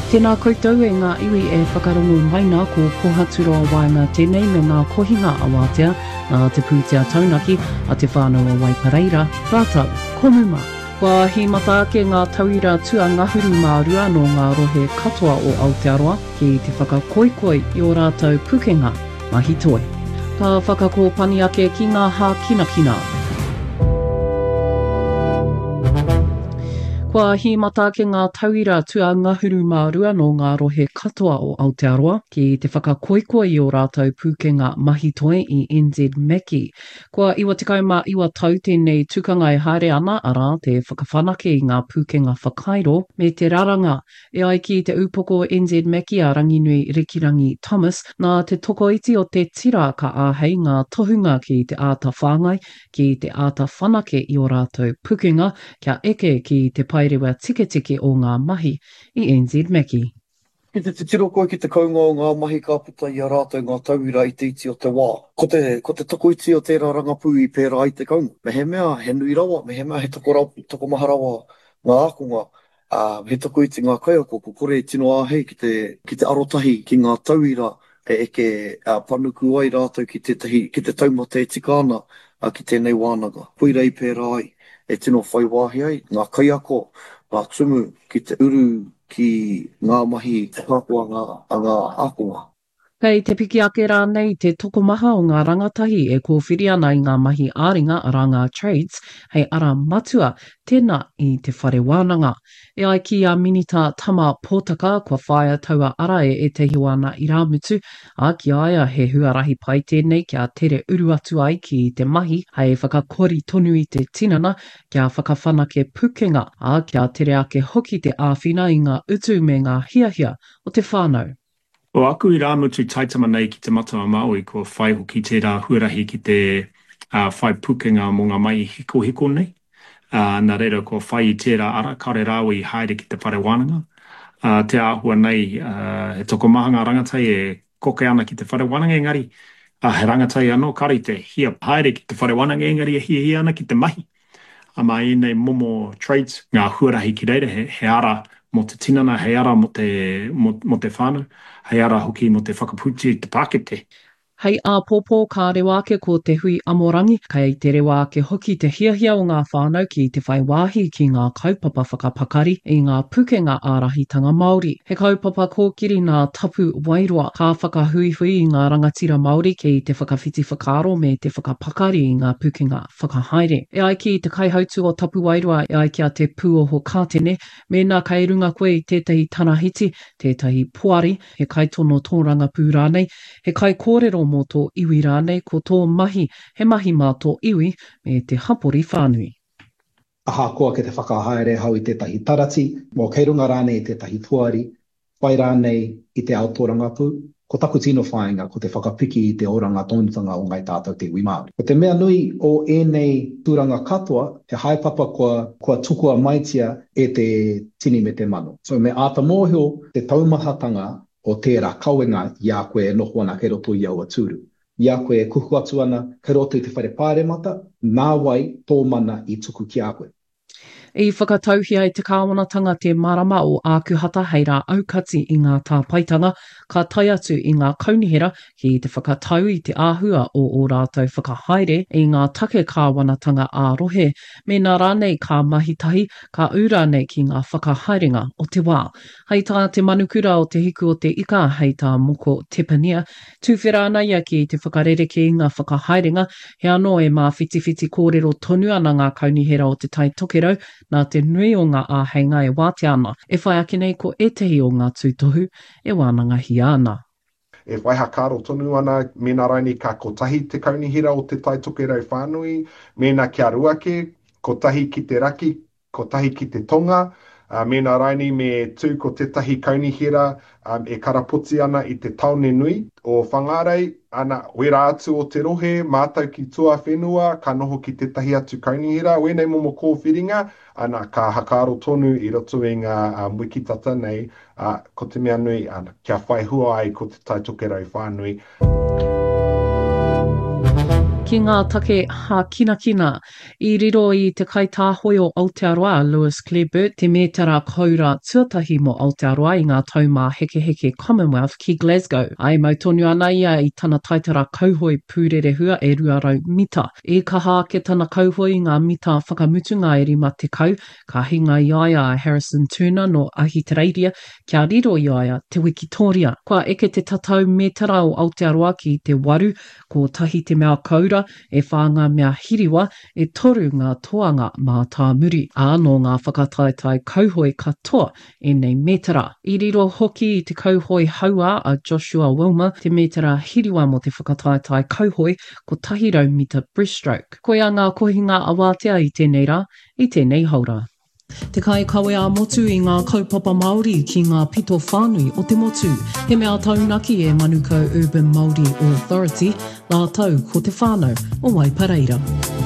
Tēnā koutou e ngā iwi e whakarongo mai nā ko Pohaturoa Waenga tēnei me ngā kohinga awatea nā te pūtea taunaki a Te Whānau o Waipareira rātou ko Muma. Kua hīmata ake ngā tauira tuangahuru mā rua nō ngā rohe katoa o Aotearoa ki te whakakoikoi i ō rātou pukenga mahi toi. Ka whakakōpani ake ki ngā hākinakina. Kua hīmata ake ngā tauira tuangahuru mā rua nō ngā rohe katoa o Aotearoa ki te whakakoikoi i ō rātou pūkenga mahi toi i NZ Mackie. Kua 99 tau tēnei tukanga e haere ana, arā, te whakawhanake i ngā pūkenga whakairo me te raranga E ai ki te upoko NZ Mackie a Ranginui Rikirangi Thomas, nā te tokoiti o te tira ka āhei ngā tohunga ki te āta whāngai, ki te āta whanake i ō rātou pukenga kia eke ki te paerewa tiketike o ngā mahi i NZ Mackie. Ki te titiro koe ki te kounga o ngā mahi ka puta i a rātou ngā tauira i te iti o te wā. Ko te, ko te tokoiti o tērā rangapū i pērā ai te kounga. Mehemea he nui rawa, mehemea he tokomaha rawa ngā ākonga, Ā, he tokoiti ngā kaiako kua kore e tino āhei ki te, ki te arotahi ki ngā tauira e eke panuku ai rātou ki tētahi, ki te taumata e tika ana ki tēnei wānanga. Koira i pērā ai, e tino whai wāhi ai ngā kaiako, ngā tumu ki te uru ki ngā mahi whakaako a ngā, a ngā ākonga. Kei te piki ake rānei te tokomaha o ngā rangatahi e kōwhiri ana i ngā mahi ā-ringa, arā ngā trades, hei ara matua tēnā i te whare wānanga. E ai ki a Minita Tama Potaka, kua whāia taua ara e ētahi o ana irāmutu, ā, ki a ia he huarahi pai tēnei kia tere uru atu ai ki te mahi hei whakakori tonu i te tinana, kia whakawhanake pukenga, ā, kia tere ake hoki te āwhina i ngā utu me ngā hiahia o te whānau. Ko aku irāmutu taitama nei ki Te Matau-a-Māui kua whai hoki tērā huarahi ki te whai pukenga mō ngā mahi hikohiko nei, nā reira kua whai i tērā ara, kāore rāua i haere ki te whare wānanga. Te āhua nei, he tokomaha ngā rangatahi e koke ana ki te whare wānanga engari he rangatahi anō kāore i te hia haere ki te whare wānanga engari e hiahia ana ki te mahi. Ā, mā ēnei momo traits, ngā huarahi ki reira, he, he ara mō te tinana, hei ara mō te, mō, mō te whānau, hei ara hoki mō te whakapūti i te pākete. Hei āpōpō ka rewa ake ko te hui amorangi, kei te rewa ake hoki te hiahia o ngā whānau ki te whai wāhi ki ngā kaupapa whakapakari i ngā pukenga ārahitanga Māori. He kaupapa kōkiri nā Tapu Wairoa, ka whakahuihui i ngā rangatira Māori ki te whakawhiti whakaaro me te whakapakari i ngā pukenga whakahaere. E ai ki te kaihautū o Tapuwaeroa, e ai ki a Te Pūoho Kātene, mēnā kei runga koe i tētahi tarahiti, tētahi poari, he kaitono tōrangapū rānei, he kaikōrero mō tō iwi rānei, ko tō mahi he mahi mā tō iwi me te hapori whānui. Ahakoa kei te whakahaere ahau i tētahi tarati, kei runga rānei i tētahi poari, whai rānei i te ao tōrangapū, ko taku tino whāinga ko te whakapiki i te oranga tonutanga o Ngāi Tātou te iwi Māori. Ko te mea nui o ēnei tūranga katoa, he haepapa kua, kua tukua maitia e te tini me te mano. So me āta mōhio te taumahatanga o tērā kawenga i a koe e noho ana kei roto i aua tūru. I a koe e kuhu atu ana kei roto i te whare pāremata, nā wai tō mana i tuku ki a koe? I whakatauhia e te kāwanatanga te marama o Ākuhata hei rā aukati i ngā tāpaetanga ka tae atu i ngā kaunihera ki te whakatau i te āhua o ō rātou whakahaere i ngā take kāwanatanga ā-rohe, mēnā rānei ka mahi tahi, ka ū rānei ki ngā whakahaerenga o te wā. Hei tā te manukura o Te Hiku o te Ika, hei tā Moko Tepania, tuwhera ana ia ki te whakarerekē i ngā whakahaerenga, he anō e māwhitiwhiti kōrero tonu ana ngā kaunihera o Te Tai Tokerau nā te nui o ngā āheinga e wātea ana. E whai ake nei ko ētehi o ngā tūtohu e wānangahia ana. E whai hakaaro tonu ana mēnā rainei ka kotahi te kaunihera o Te Tai Tokerau whānui, mēnā kia ruake, kotahi ki te raki, kotahi ki te tonga, ā, mēnā rainei me tū ko tētahi kaunihera e karapoti ana i te tāone nui o Whangārei, ana, wērā atu o te rohe, mātau ki tuawhenua, ka noho ki tētahi atu kaunihera, wēnei momo kōwhiringa, ana, ka hakaaro tonu i roto i ngā wiki tata nei, ā, ko te mea nui, ana, kia whai hua ai ko Te Tai Tokerau whānui. Ki ngā take hākinakina, i riro i te kaitāhoi o Aotearoa a Lewis Clareburt te mētara koura tuatahi mō Aotearoa i ngā Taumāhekeheke Commonwealth ki Glasgow. Ā, e mau tonu ana ia i tana taitara kauhoe pūrerehua e 200 mita. I kaha ake tana kauhoe i ngā mita whakamutunga e 50, ka hinga i a ia a Harrison Turner nō Ahitereiria kia riro i a ia te wikitōria. Kua eke te tatau mētara o Aotearoa ki te waru, kotahi te mea koura, e whā ngā mea hiriwa, e toru ngā toanga mātāmuri. Ā, nō ngā whakataetae kauhoe katoa ēnei mētara. I riro hoki i te kauhoe hauā a Joshua Wilmer te mētara hiriwa mō te whakataetae kauhoe 100 mita breaststroke. Koia ngā kohinga awātea i tēnei rā, i tēnei haora. Te kaikawe ā-motu i ngā kaupapa Māori ki ngā pito whānui o te motu. He mea taunaki e Manukau Urban Māori Authority rātou ko te whānau o Waipareira.